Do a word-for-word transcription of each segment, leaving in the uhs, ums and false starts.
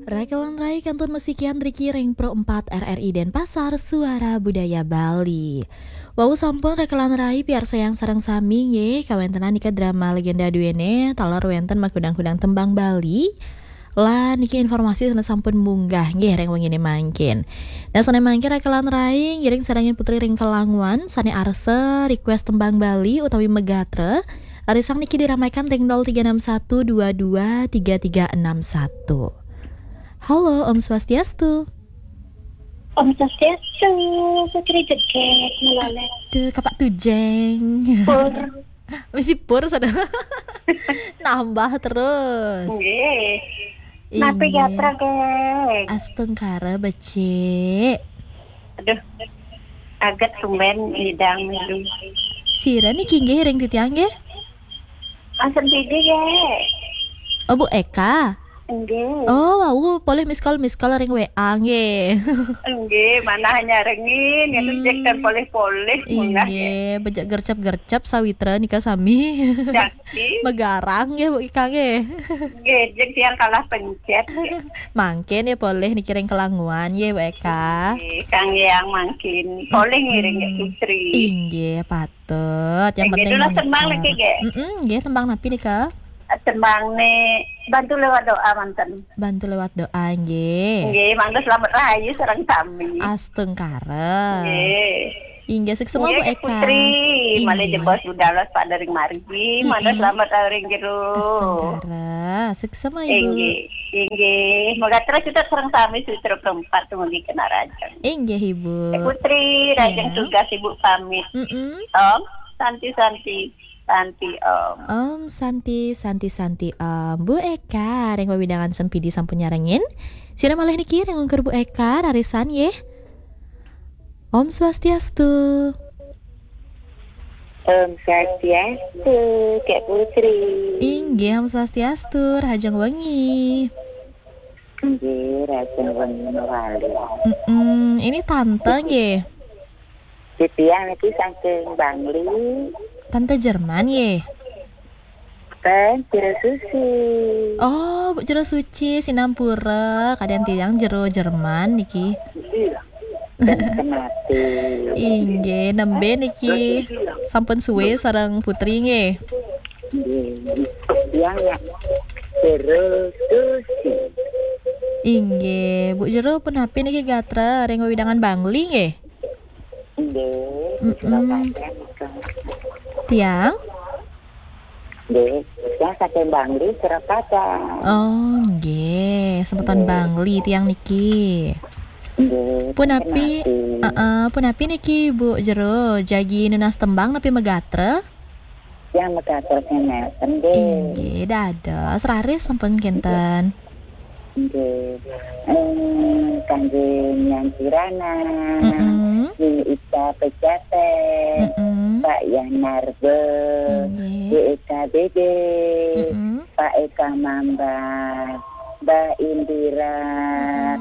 Rakelan rai kantun masikian riki ring Pro empat R R I Denpasar, Suara Budaya Bali. Wau sampun rakelan rai piarsayang sareng sami nggih, kawentenan nika drama legenda duene taler wenten makudang-kudang tembang Bali. Lan niki informasi sane sampun munggah nggih ring wengine mangkin. Nah, sane mangkin rakelan rai ngiring sarengin Putri ring Kelangwan sane arsa request tembang Bali utawi megatra. Rarisang niki diramaikan ring nol tiga enam satu dua dua tiga tiga enam satu. Halo, Om Swastiastu. Om Swastiastu, Putri Jeget, Melaleh. Duh, Kapak Tujeng. Pur. Misi pur sudah. Nambah terus. Nggih. Napa Inggih. Gatra, Gek? Astungkara, becik. Aduh, aget tumben idang milu. Sira niki nggih ring titiang nggih? Asem Didi, Gek. Oh, Bu Eka. Nggih. Oh, wau polih miss call, miss call ring W A nggih. Nggih, manah nyarengin, ya, hmm, cek dan polih-polih munggah, ya. Inggih, becik gercep-gercep sawitra nika sami. Jaki. Megarang nggih, Bu Eka nggih. Nggih, jek tiang kalah pencet, nggih. Mangkin ya polih niki ring Kelangwan nggih, Bu Eka. Nggih, Kang Yang mangkin. Polih ngiring, Gek, Putri. Inggih, patut. Yang penting mangkin. Nggih, tembang lagi, Gek. Mm-mm, nggih, tembang napi nika? Tembang ne Bantu Lewat Doa manten. Bantu Lewat Doa, nggih. Nggih, mangga selamat rahayu sareng sami. Astungkara. Nggih. Inggih, suksma, Bu Eka. Nggih, Putri, malih jebos budal Pak dari margi, mangga selamat rahayu ring jero. Astungkara. Suksma, Ibu. Inggih, inggih. Moga terus kita sareng sami sawitra Pro empat dumugi Kenarajan. Inggih, Ibu. Putri, rajin tugas, Ibu pamit. Mm-mm. Om Santi Santi. Santi Om. Om Santi, Santi, Santi Om. Bu Eka, ring wewidangan Sempidi sampun nyarengin. Sira malih niki ring ungkur Bu Eka, rarisan nggih. Om Swastiastu. Om Swastiastu, Kak Putri. Inggih, Om Swastiastu, rahajeng wengi. Nggih, rahajeng wengi malih. Mm-mm, ini tante nggih. Titiang niki saking Bangli. Tante Jerman nggih. Ten, Jero Susi. Oh, Bu Jero Suci, sinampura, kadang tiang Jero Jerman niki. Ten, kenati. Inggih, nembe niki sampun suwe sareng Putri nggih. Nggih, tiang ya Jero Susi. Inggih, Bu Jero punapi niki gatra ring wewidangan Bangli nggih? Nggih, mm-mm. Surakarta nika. Tiang? Nggih, tiang saking Bangli, Surakarta. Oh, nggih, semeton Bangli tiang niki. Nggih, punapi, heeh, punapi niki Bu Jero, jagi nunas tembang napi megatra? Yang megatra nenten, nggih. Inggih, dados raris sampun kinten. Nggih. Eh, kangge Nyang Kirana, mm-mm, Nini Ita Pejaten, mm-mm, Pak Yan Marbe, inggih, Bu Eka Dede, mm-mm, Pak Eka Mamba, Mbak Indira.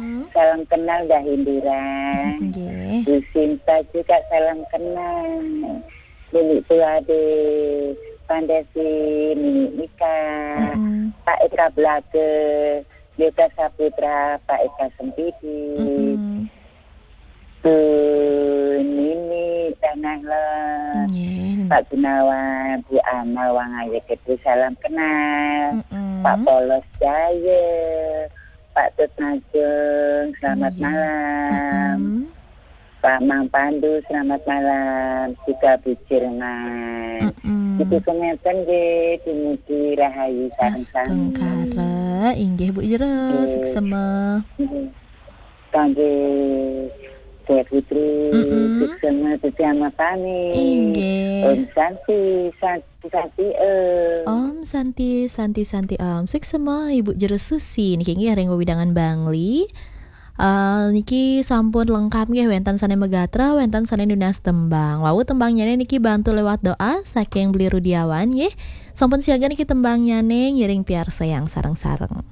Mm-mm. Salam kenal, Mbak Indira. Nggih. Bu Sinta juga salam kenal. Nini Tuade, Pandasi, Nini Ika, mm-mm, Pak Eka Blage, Yoga Saputra, Pak Eka Sempidi, mm-mm, Bu Nini Tanah Lot, nggih, Pak Gunawan, Bu Ana Wangaya Gede, salam kenal, mm-mm, Pak Polos Jaya, Pak Tut Najung, selamat malam. Mm-mm. Pak Mang Pandu, selamat malam. Juga Bu Jerman. Mm-mm. Gitu, kengeten nggih, dumugi rahayu sareng sami. Astungkara, inggih Bu Jero, nggih, suksema. Nggih. Kangge Dek Putri, mm-mm, suksema, suksema pamit. Inggih. Om Santi, Santi, Santi, Om. Om Santi, Santi, Santi, Om. Suksema Ibu Jero Susi. Niki nggih ring wewidangan Bangli. Eh, niki sampun lengkap nggih, wenten sane megatra, wenten sane nunas tembang. Wau tembangnyane niki Bantu Lewat Doa saking Beli Rudiawan nggih. Sampun siaga niki tembangnyane, ngiring piarsayang sareng-sareng.